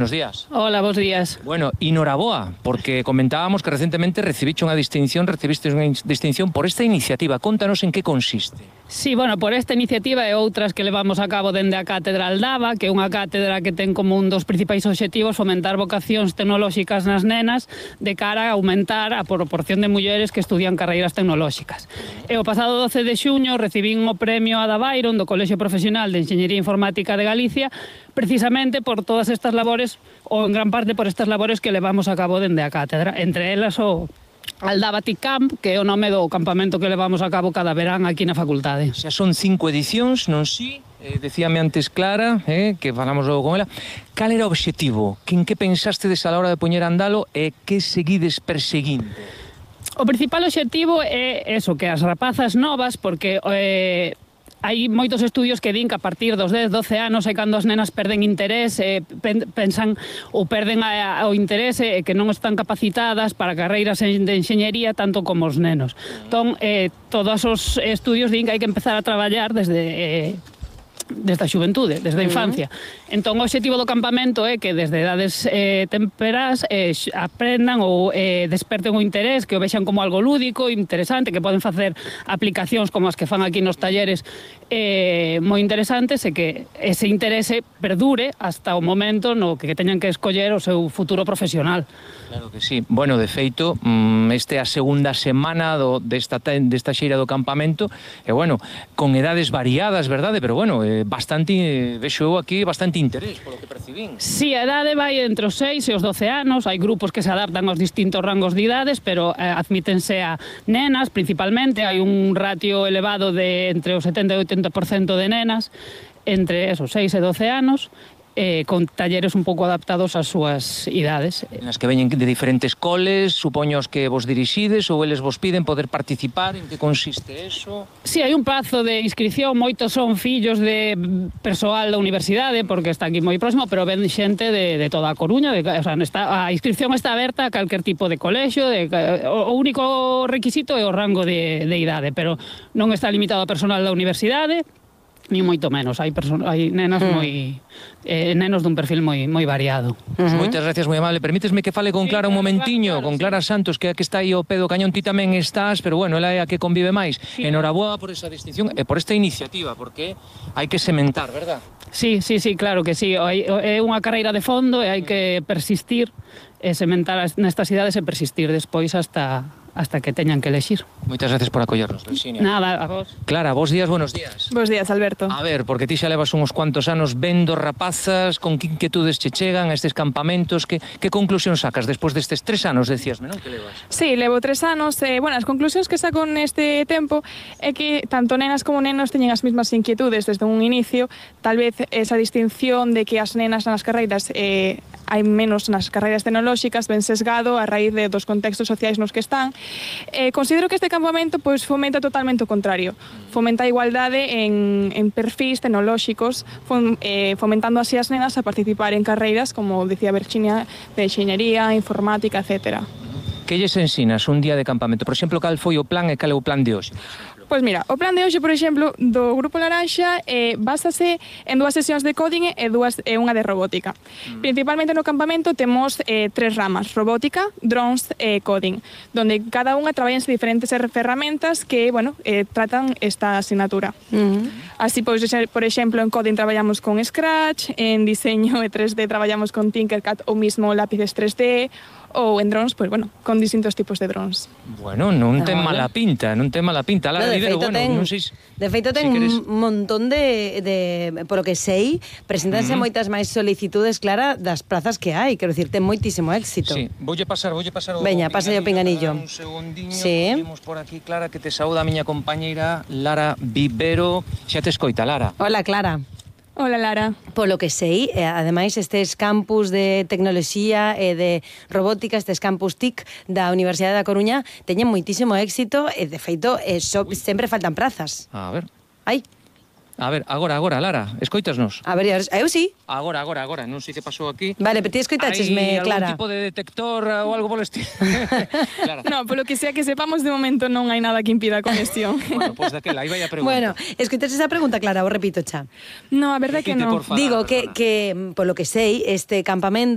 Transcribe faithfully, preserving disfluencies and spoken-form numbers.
Buenos días. Hola, bons días. Bueno, enhoraboa, porque comentábamos que recientemente recibiste unha distinción, recibiste unha distinción por esta iniciativa. Contanos en que consiste. Sí, bueno, por esta iniciativa e outras que levamos a cabo dende a Cátedra Aldaba, que é unha cátedra que ten como un dos principais obxectivos fomentar vocacións tecnolóxicas nas nenas de cara a aumentar a proporción de mulleres que estudian carreiras tecnolóxicas. E o pasado doce de xuño recibín o premio Ada Byron do Colexio Profesional de Enxeñería Informática de Galicia, precisamente por todas estas labores, ou en gran parte por estas labores que levamos a cabo dende a cátedra, entre elas o Aldaba Tech Camp, que é o nome do campamento que levamos a cabo cada verán aquí na facultade. Xa son cinco edicións, non si? Eh, decíame antes Clara, eh, que falamos logo con ela. Cal era o obxectivo? Que en que pensastes a la hora de poñer a andalo e que seguides perseguindo? O principal obxectivo é eso, que as rapazas novas, porque eh, hai moitos estudios que din que a partir dos dez, doce anos é cando as nenas perden interés, eh, pensan ou perden a, a, o interés e eh, que non están capacitadas para carreiras de enxeñería tanto como os nenos. Entón, eh, todos os estudios din que hai que empezar a traballar desde... Eh, desde a xuventude, desde a infancia. Uh-huh. Entón, o obxectivo do campamento é que desde edades eh, temperás eh, aprendan ou eh, desperten o interés, que o vexan como algo lúdico, interesante, que poden facer aplicacións como as que fan aquí nos talleres eh, moi interesantes e que ese interese perdure hasta o momento no que teñan que escoller o seu futuro profesional. Claro que sí. Bueno, de feito, este é a segunda semana do, desta, desta xeira do campamento, e bueno, con edades variadas, verdade? Pero bueno, eh, bastante, vexo eu aquí, bastante interés, polo que percibín. Sí, a idade vai entre os seis e os doce anos, hai grupos que se adaptan aos distintos rangos de idades, pero eh, admítense a nenas, principalmente, hai un ratio elevado de entre o setenta e o oitenta por cento de nenas, entre esos seis e doce anos, Eh, con talleres un pouco adaptados ás súas idades. Nas que veñen de diferentes coles, supoños que vos dirixides ou eles vos piden poder participar, en que consiste eso? Si, sí, hai un prazo de inscripción, moitos son fillos de persoal da universidade, porque está aquí moi próximo, pero ven xente de, de toda a Coruña, de, o sea, está, a inscripción está aberta a calquer tipo de colexio, de, o, o único requisito é o rango de, de idade, pero non está limitado a personal da universidade, ni moito menos, hai, hai nenas mm. moi eh, nenos dun perfil moi moi variado. Pues uh-huh. Moitas gracias, moi amable. Permítesme que fale con Clara sí, un momentiño, claro, con Clara sí. Santos, que que está aí ao pé do cañón. Ti tamén estás, pero bueno, ela é a que convive máis. Sí. Enhoraboa por esa distinción e por esta iniciativa, porque hai que sementar, verdad? Sí, sí, sí, claro que sí. É unha carreira de fondo e hai que persistir e sementar nestas idades e persistir despois hasta hasta que teñan que elexir. Moitas gracias por acollernos, Virxinia. Nada, a vos. Clara, bons días, buenos días. Bos días, Alberto. A ver, porque ti xa levas uns cuantos anos vendo rapazas, con que inquietudes che chegan a estes campamentos, que, que conclusión sacas despois destes tres anos, decíasme, non? Que levas? Sí, levo tres anos. Eh, bueno, as conclusións que saco neste tempo é que tanto nenas como nenos teñen as mesmas inquietudes desde un inicio. Tal vez esa distinción de que as nenas nas carreiras eh, hai menos nas carreiras tecnolóxicas ben sesgado a raíz de, dos contextos sociais nos que están. Eh, considero que este campamento pois, fomenta totalmente o contrario. Fomenta a igualdade en, en perfis tecnolóxicos, fom, eh, fomentando así as nenas a participar en carreiras, como decía Virxinia, de enxeñería, informática, etcétera. Que lles ensinas un día de campamento? Por exemplo, cal foi o plan e cal é o plan de hoxe? Pois mira, o plan de hoxe, por exemplo, do Grupo Laranxa eh, básase en dúas sesións de coding e dúas e unha de robótica. Mm. Principalmente no campamento temos eh, tres ramas: robótica, drones e coding, donde cada unha traballanse diferentes ferramentas que, bueno, eh, tratan esta asignatura. Mm. Así, pois, por exemplo, en coding traballamos con Scratch, en diseño e tres D traballamos con Tinkercad ou mismo lápices tres D, ou en drones, pois, bueno, con distintos tipos de drones. Bueno, non ten mala pinta, non ten mala pinta. Lara, no, de, Rivero, feito bueno, ten, non sei, de feito ten si un montón de, de, por lo que sei, presentanse uh-huh. moitas máis solicitudes, Clara, das plazas que hai. Quero dicir, ten moitísimo éxito. Sí, voulle pasar, voulle pasar o Veña, pasa o pinganillo. Un segundiño, sí. Podemos por aquí, Clara, que te saúda a miña compañeira Lara Vivero. Xa te escoita, Lara. Hola, Clara. Hola, Lara. Polo que sei, eh, ademais estes campus de tecnoloxía e de robótica, estes campus T I C da Universidade da Coruña, teñen moitísimo éxito e, de feito, eh, so, sempre faltan prazas. A ver. Ai. A ver, agora, agora, Lara, escoitasnos. A ver, eu sí. Agora, agora, agora, non sei que pasou aquí. Vale, pero ti escoitachesme, Clara. Hai algún tipo de detector ou algo polo estilo? Clara. No, polo que sea que sepamos, de momento non hai nada que impida a conexión. Bueno, pois pues daquela, aí vai a pregunta. Bueno, escoitaches esa pregunta, Clara, o repito xa. No, a verdade que non. Digo que, que, polo que sei, este campamento